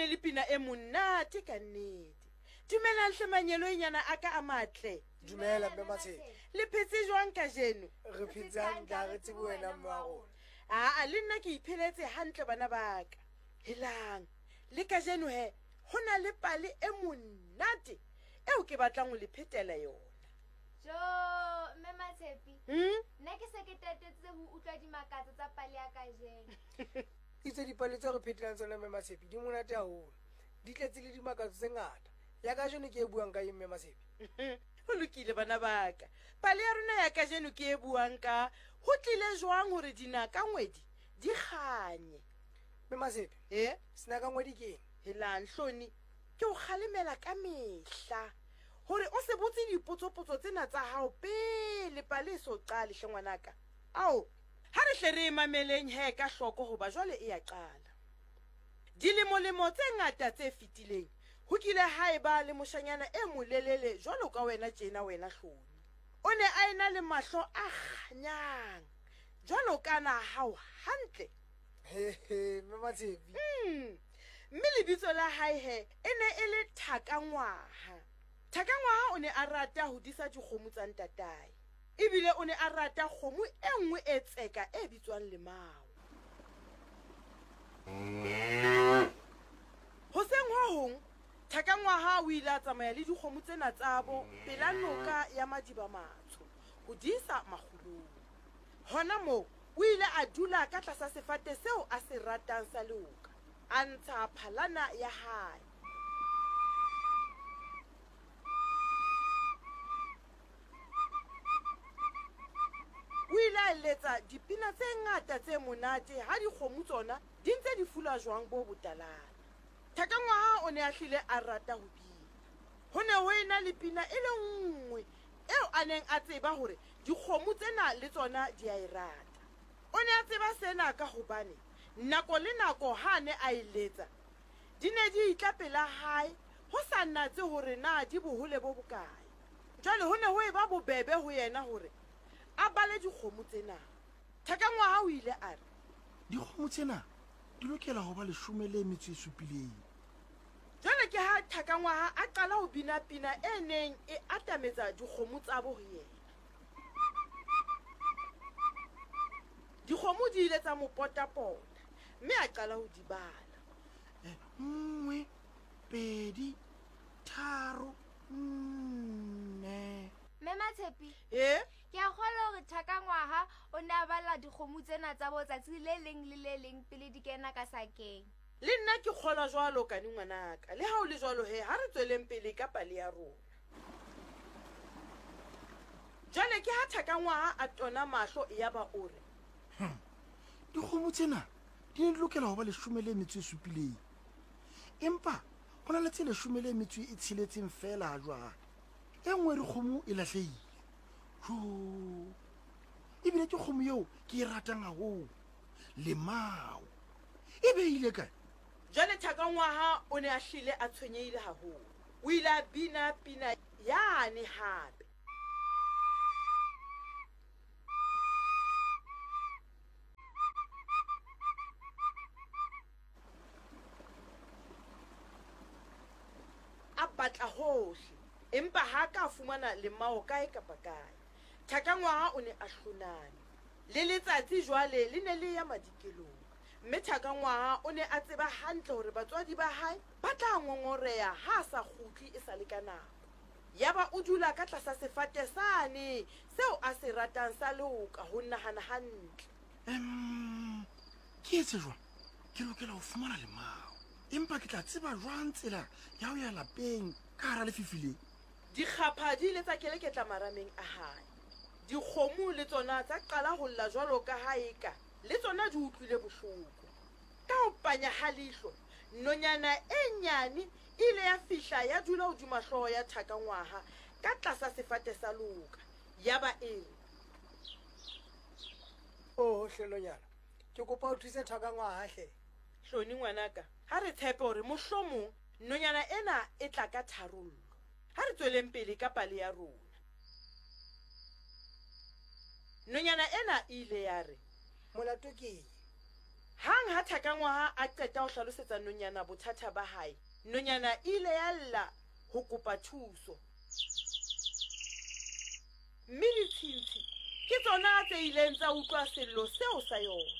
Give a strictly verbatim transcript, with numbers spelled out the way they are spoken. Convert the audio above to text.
ne le pina e monate ka nnete. Dumelang hle manyeloinyana a ka a matle. Dumela mme Matshepe. Le phetse jwang kajeno? Re phetse hantle, ha re tsebe wena mme wa rona. Aa, le nna ke ipheletse hantle bana ba ka. Helang, le kajeno he, ho na le pale e monate eo ke batlang ho le phetela yona. Jo, mme Matshepe. Hmm? Nna ke se ke tatetse ho utlwa dimakatso tsa pale ya kajeno. Itse dipale tseo re phetelang tsona mme Matshepe di monate haholo. Di tletse le dimakatso tse ngata. Ya kajeno ke e buang ka eng mme Matshepe? Ho lokile bana ba ka. Pale ya rona ya kajeno ke e buang ka ho tlile jwang hore dinaka ngwedi di kganye. Mme Matshepe, Eh? senaka ngwedi ke eng? Helang Hloni, ke o kgalemela ka mehla hore o se botse dipotsopotso tsena tsa hao pele pale e so qale hle ngwanaka. Ao, ha re hle re e mameleng he ka hloko hoba jwale e ya qala. Dilemolemo tse ngata tse fetileng, ho kile ha eba le moshanyana e molelele jwalo ka wena tjena wena Hloni. O ne a ena le mahlo a kganyang jwalo ka na hao hantle. He he, mme Matshepe. Mm. Mme lebitso la hae he e ne e le Thakangwaha. Thakangwaha o ne a rata ho disa dikgomo tsa ntatae. Ebile o ne a rata kgomo e nngwe e tseka e bitswang Lemao. Hoseng ho hong, Thakangwaha o ile a tsamaya le dikgomo tsena tsabo pela noka ya Madiba Matsho ho di isa makgulong. Hona moo o ile a dula ka tlasa sefate seo a se ratang sa leoka, a ntsha phalana ya hae. O ile a letsa dipina tse ngata tse monate ha dikgomo tsona di ntse di fula jwang bo botalana. Thakangwaha o ne a hlile a rata ho bina. Ho ne ho ena le pina e le nngwe eo a neng a tseba hore dikgomo tsena le tsona di a e rata. O ne a tseba sena ka hobane nako le nako ha a ne a e letsa, di ne di itla pela hae ho sa natse hore na di bohole bo bokae. Jwale ho ne ho eba bobebe ho yena hore a bale dikgomo tsena. Thakangwaha o ile a re, Dikgomo tsena di lokela ho ba leshome le metso e supileng. Jwale ke ha Thakangwaha a qala ho bina pina e neng e atametsa dikgomo tsabo ho yena. Dikgomo di ile tsa mo potapota, mme a qala ho di bala. Eh, nngwe, pedi, tharo, nne. Mme Matshepe, Eh? ke a kgolwa hore Thakangwaha o ne a bala dikgomo tsena tsa bo tsatsi le leng le le leng pele di kena ka sakeng. Le nna ke kgolwa jwalo kane ngwanaka. Le ha o le jwalo he, ha re tsweleng pele ka pale ya rona. Jwale ke ha Thakangwaha a tona mahlo yaba o re, Hmm. Dikgomo tsena di ne di lokela ho ba leshome le metso e supileng. Empa ho na le tse leshome le metso e tsheletseng feela ha jwale. E nngwe re kgomo e lahlehile. Jo. Ebile ke kgomo eo ke e ratang haholo. Lemao. E beile kae? Jwale Thakangwaha o ne a hlile a tshwenyehile haholo. O ile a bina pina yane hape. A batla hohle, empa ha ka fumana lemao kae kapa kae. Thakangwaha o ne a hloname. Le letsatsi jwale le ne le ya madikelong. Mme Thakangwaha o ne a tseba hantle hore batswadi ba hae ba tla ngongoreha ha a sa kgutle e sa le ka nako. Yaba o dula ka tlasa sefate sane seo a se ratang sa leoka ho nahana hantle. Em, ke etse jwang? Ke lokela ho fumana lemao. Empa ke tla tseba jwang tsela ya ho ya lapeng ka hara lefifi le? Dikgapha di ile tsa keleketla marameng a hae. Dikgomo le tsona tsa qala ho lla jwalo ka ha eka le tsona di utlwile bohloko. Ka ho panya ha leihlo, nonyana e nyane e ile ya fihla ya dula hodima hlooho ya Thakangwaha ka tlasa sefate sa leoka. Yaba e re, Oh, hle nonyana, ke kopa o thuse Thakangwaha hle. Hloni ngwanaka, ha re tshepe hore mohlomong nonyana ena e tla ka tharollo. Ha re tsweleng pele ka pale ya rona. Nonyana ena e ile ya re, Molato ke eng? Hang ha Thakangwaha a qeta ho hlalosetsa nonyana bothata ba hae, nonyana e ile ya lla ho kopa thuso. Mme ditshintshi ke tsona tse ileng tsa utlwa sello seo sa yona.